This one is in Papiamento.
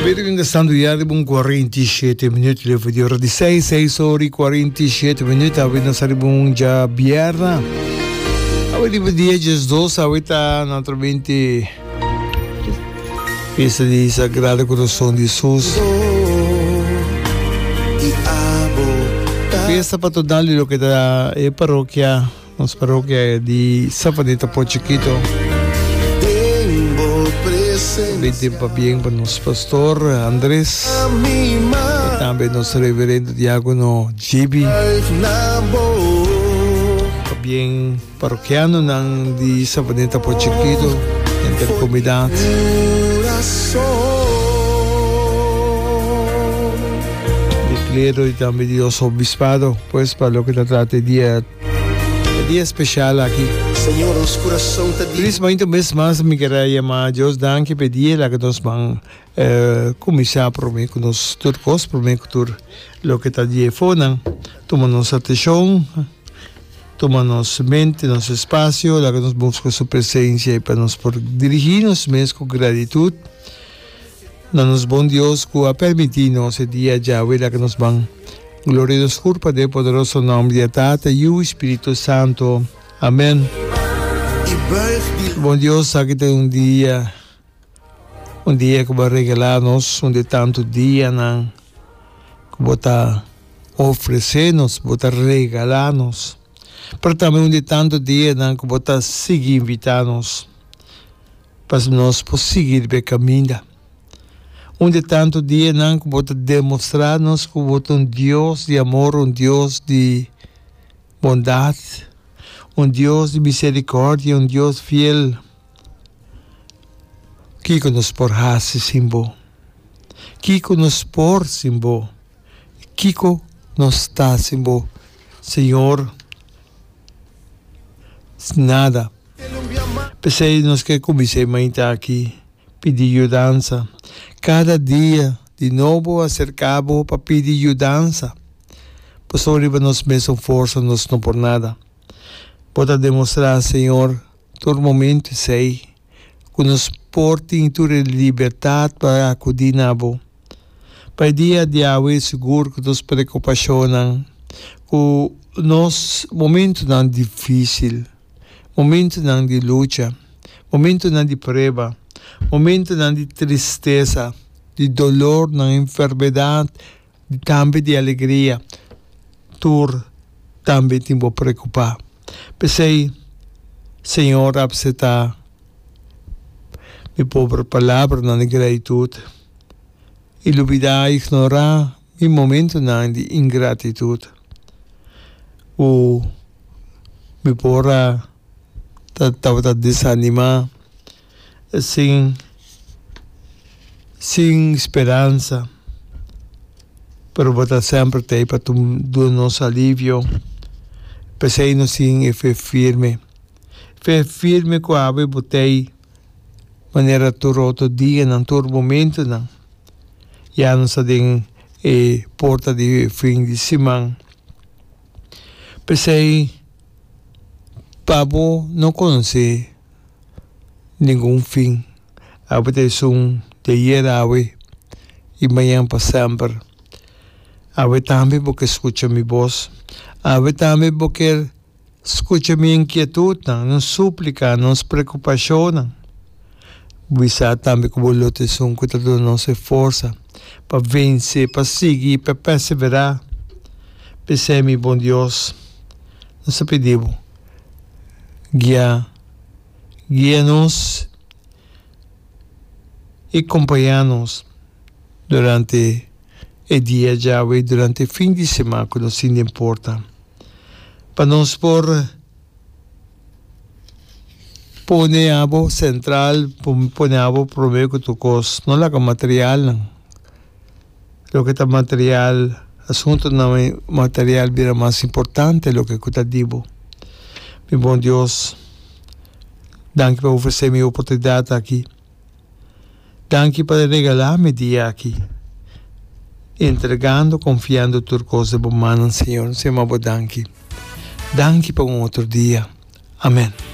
Birgen ta stando ya riba un 47 minuut leu di ora di 6, 6 ora y 47 minuut. Awe nos riba un djabierna. Awe riba dia 12, awe ta naturalmente fiesta di Sagrado Corazon di Jesus. Fiesta patronal di loke ta e parokia. Nos parokia di Savaneta por Chikito. Binte pabien pa nos pastor Andres y tambe nos reverendo diacono Gibi. Pabien parokianonan di Savaneta por Chikito, henter comunidad. Di clero y tambe di nos obispado, pues pa loke ta trata e dia. E dia special aki. Señor, nos curason ta di. Feliz mainta un bes mas mi kier a yama Dios danki pa e dia laga nos ban cuminsa prome cu nos tur cos prome cu tur loke ta di efonan tuma nos atencion tuma nos mente nos espacio laga nos busca su presencia y pa nos por dirigi nos mes cu gratitud na nos bon Dios cu a permiti nos e dia djawe laga nos ban Gloria nos curpa den poderoso nomber di e Tata, Yiu y Spiritu Santo. Amen. Bon Dios, aki ta un dia, un dia cu bo a regala nos, un di tanto dianan cu bo ta ofrece nos, bo ta regala nos, pero tambe un di tanto dianan cu bo ta sigui invita nos pa nos por sigui riba e caminda. Un di tantu dianan ku bo ta demostrá nos ku bo ta un Dios di amor, un Dios di bondat, un Dios di miserikòrdia, un Dios fiel. Kiko nos por hasi sin bo? Kiko nos por sin bo? Kiko nos ta sin bo, Señor? Nada. P'esei nos ke kuminsá e mainta aki. Pidi yudansa. Kada dia di nobo aserká bo pa pidi yudansa, pasobra riba nos mesun forsa nos no por nada. Bo ta demostrá, Señor, tur momento esei, ku nos por tin tur e libertat pa akudí na bo. Pa e dia di awe sigur ku nos preokupashonnan, ku nos momentunan difísil, Momentunan di lucha, momentunan di prueba, momentunan di tristesa, di dolornan, enfermedat, tambe di alegria, tur tambe tin bo preokupá. P'esei, Señor apseptá mi pober palabranan di gratitut i lubidá, ignorá mi momentunan di ingratitut ku mi por a ta tabata desanimá sin sin speransa pero bo ta semper ta ei pa duna nos alivio p'esei nos tin e fe firme fe firme ku awe bo ta ei manera tur otro dianan tur momentunan. Ya nos ta den e porta di fin di siman. P'esei, pa bo no konosé ningun fin. Awe ta esun di ayer awe i mañan pa semper. Awe tambe bo ke skucha mi bos. Awe tambe bo ker Skucha mi inkietutnan, nos súplika, nos preokupashonnan. Bisa tambe ku bo lo ta esun ku ta duna nos e forsa pa vense, pa sigui i pa perseverá. P'esei, mi bon Dios, nos ta pidi bo, guia, guia nos i kompañá nos durante e dia djawe i durante e fin di siman ku nos tin den porta. Pa nos por pone abo sentral, pone abo prome ku tur kos. No laga materialnan, loke ta material, asuntunan material bira mas importante loke ku ta di bo. Mi bon Dios, danki pa ofresé mi e oportunidat aki. Danki pa regalá mi dia aki, entregando, konfiando tur kos den bo mannan, Señor. Nos yama bo danki. Danki pa un otro dia. Amen.